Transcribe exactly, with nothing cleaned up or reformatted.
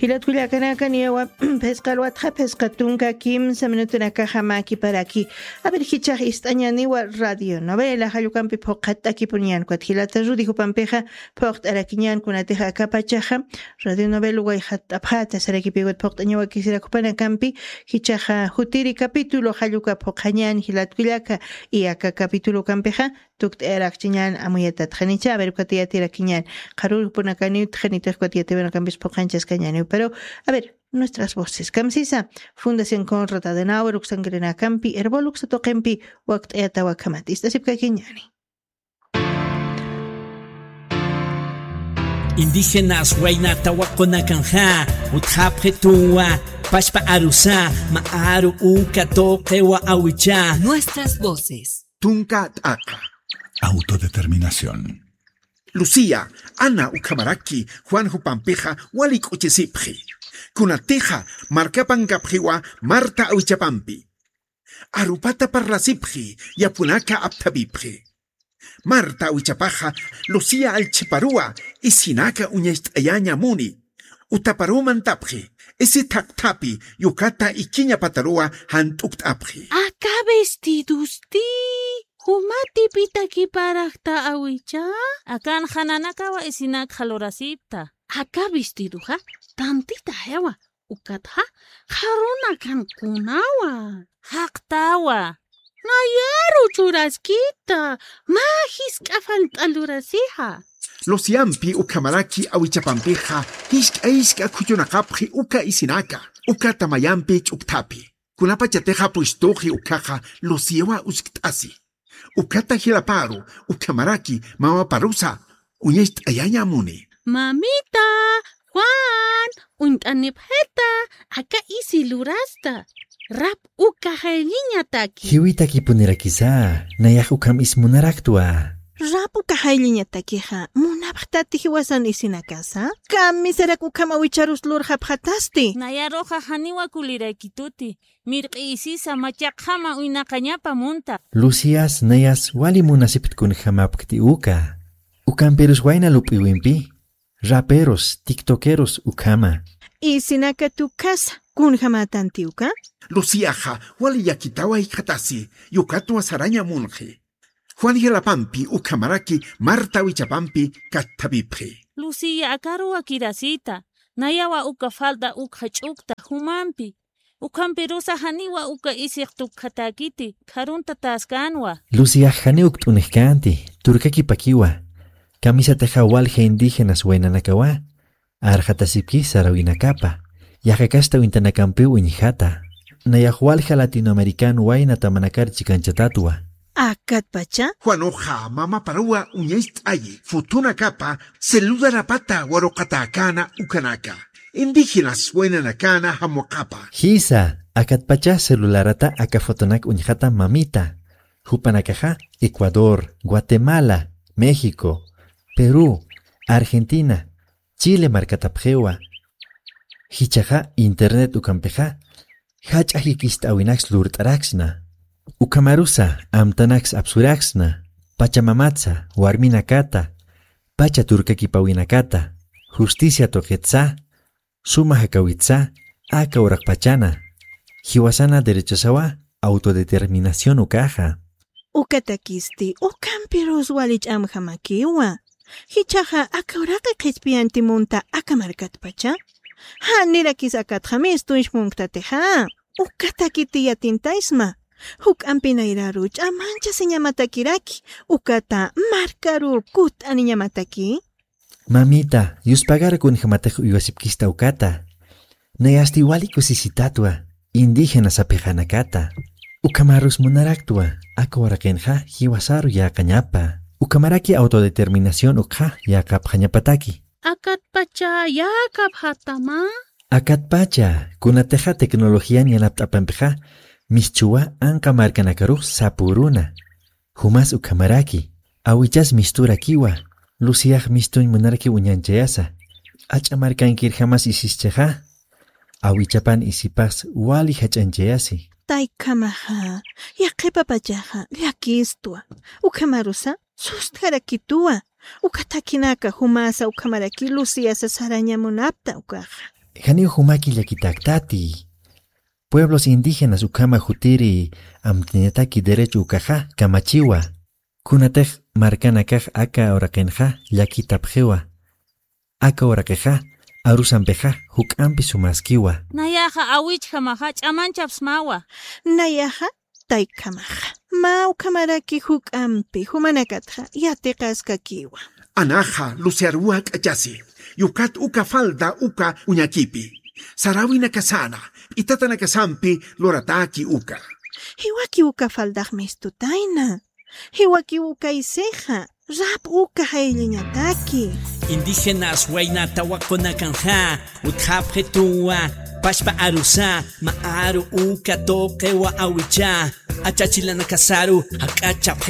Jilat kullakanaka, niyawa phisqa alwatxa phisqa tunka kimsa minutunakaxa mä kiparaki. A ver, jichhax ist'añäniwa radio novela jallukampi phuqhatt'akipuniñän, ukat jilata Rudy jupampixa phuqt'arakiñän, kunatixa aka pachaxa radio novela wayxatt'apxäta sarakipi, ukat phuqt'añawa kisirak jupanakampi, jichhaxa jutiri capítulo jalluka phuqhañän jilat kullaka, y aka capítulokampixa tukt'ayarakchiñän amuyatat. Janicha, a ver, ukat yatirakiñän. Qharürupunakaniw, janitix ukat yatiwanakampis phuqhanchaskañäniw. Pero, a ver, nuestras voces. Kamsisa, Fundación Konrad Adenauer uksankirinäkampi, Erbol uksa tuqimpi, wakt'ayataw akhamat. Ist'asipkakiñäni. Indígenas wayna tawaqunakanxa, utjapxituwa, pachpa arusa, mä aru uka tuqiwa awicha. Nuestras voces. Tunka t'aqa. Autodeterminación. Lucía, Ana ukhamaraki Juan jupampixa wali k'uchisipxi. Kunatixa markapankapxiwa Marta awichapampi. Arupata parlasipxi, yapunaka apthapipxi. Marta awichapaxa Lucía allchhiparuwa isinaka uñacht'ayaña muni. Utaparuw mantapxi, isi thaqthapi yukata ikiñapataruwa jant'ukt'apxi. Aka vestidosti, juma tipitaki parakta awicha? Akanxa nanakawa isinakxa lurasipta. Aka vestidoxa tantitayawa, ukatxa qharunakankunawa. Jaqtawa. Nayaru churaskita, mä jisk'a falt'a lurasixa. Luciampi ukhamaraki awichapampixa jisk'a jisk'a khuchunaqapxi uka isinaka, uka tamayampi ch'ukthapi. Kunapachatixa pushtuxi ukhaxa Luciawa uskt'asi. Ukata jilaparu ukhamaraki mamaparusa uñacht'ayaña muni. Mamita, Juan, uñt'anipxita, aka isi lurasta. Rap uka jaylliñataki. Jiwitakipunirakisa, nayax ukham is munaraktwa. Rap uka jaylliñatakixa, munapxtati jiwasan isinakasa? Kamisarak ukham awicharus lurxapxatasti. Nayaruxa janiwa kuliraykituti. Mirq'i isisa machaqjama uynaqañapa munta. Lucias nayas wali munasipkti kunjamapkti uka. Ukampirus wayna lup'iwimpi, raperos, tiktokeros ukhama. Isinaka tukhasa, kunjamätanti uka? Luciaxa wali llakitawa jikxatasi, yukatwa saraña munxi. Juan jilapampi ukhamaraki Marta awichapampi katthapipxi. Lucia, akaruwa kirasita, nayawa uka falda ukxa ch'ukta jumampi. Ukhampirusa janiwa uka isix tukjatäkiti, kharuntatäskänwa. Luciax janiw ukt'unxkänti, turkakipakiwa. Kamisatixa walja indígenas waynanakawa arxatasipki sarawinakapa. Yaqha kasta uñtanakampiw uñjata. Nayax walja latinoamericano wayna tamanakar chikanchatatwa. Akatpacha? Juanuxa mamaparuwa uñacht'ayi, fotonakapa celularapata waruqatäkäna ukanaka. Indígenas waynanakäna jamuqapa. Jisa, akatpacha celularata aka fotonak uñjata mamita. Jupanakaxa Ecuador, Guatemala, México, Perú, Argentina, Chile markatapxiwa. Jichhaxa internet ukampixa jach'a jikist'äwinaks lurt'araksna. Ukhamarusa amtanaks apsuraksna, pachamamatsa, warminakata, pacha turkakipäwinakata, justicia tuqitsa, suma jakawitsa, aka uraqpachana, jiwasana derechosawa autodeterminación ukaxa. Ukatakisti, ukampirus wali ch'amjamakiwa. Jichhaxa aka uraqi qhispiyanti munta aka markatpacha. Janirakis akatxa mistuñs munktatixa. Ukatakiti yatintaysma. Juk'ampi nayraru ch'amanchasiñamatakiraki. Ukata markaru kutt'aniñamataki. Mamita, yuspagar kunjämatix uywasipkista ukata. Nayasti wali kusisitatwa, indígena sapixanakata. Ukhamarus munaraktwa, aka uraqinxa jiwasaru yäqañapa. Ukhamaraki autodeterminación ukxa yäqapxañapataki. Akatpacha yäqapxatama. Akatpacha, kunatixa tecnologían yanapt'apampixa, mischhuwa anqa markanakarux sapüruna. Jumas ukhamaraki, awichas misturakiwa, Luciax mistuñ munarakiw uñanchayasa. Ach'a markankirjamas isischixa, awichapan isipas wali jach'anchayasi. Taykhamaxa, yaqhipapachaxa, llakistwa. Ukhamarusa, sustjarakituwa. Uka thakinaka jumasa ukhamaraki Luciasa saraña munapta ukaxa. Janiw jumaki llakitaktati. Pueblos indígenas ukhama jutiri amt'añataki derecho ukaxa kamachiwa. Kunatix markanakax aka uraqinxa llakitapxiwa. Aka uraqixa arusampixa juk'ampi sumaskiwa. Nayaxa awichjamaxa ch'amanchapsmawa. Nayaxa taykhamaxa. Mä ukhamaraki juk'ampi jumanakatxa yatiqaskakiwa. Anaxa luciaruwa k'achasi. Yukat uka falda uka uñakipi. Sarawinakasana p'itatanakasampi lurataki uka. Jiwaki uka faldax mistutayna. Jiwaki uka isixa. Rap uka jaylliñataki. Indígenas waynata waqunakanxa utjapxituwa. Pachpa arusa ma aru uka tuqiwa awicha. Achachilanakasaru jak'achapxi.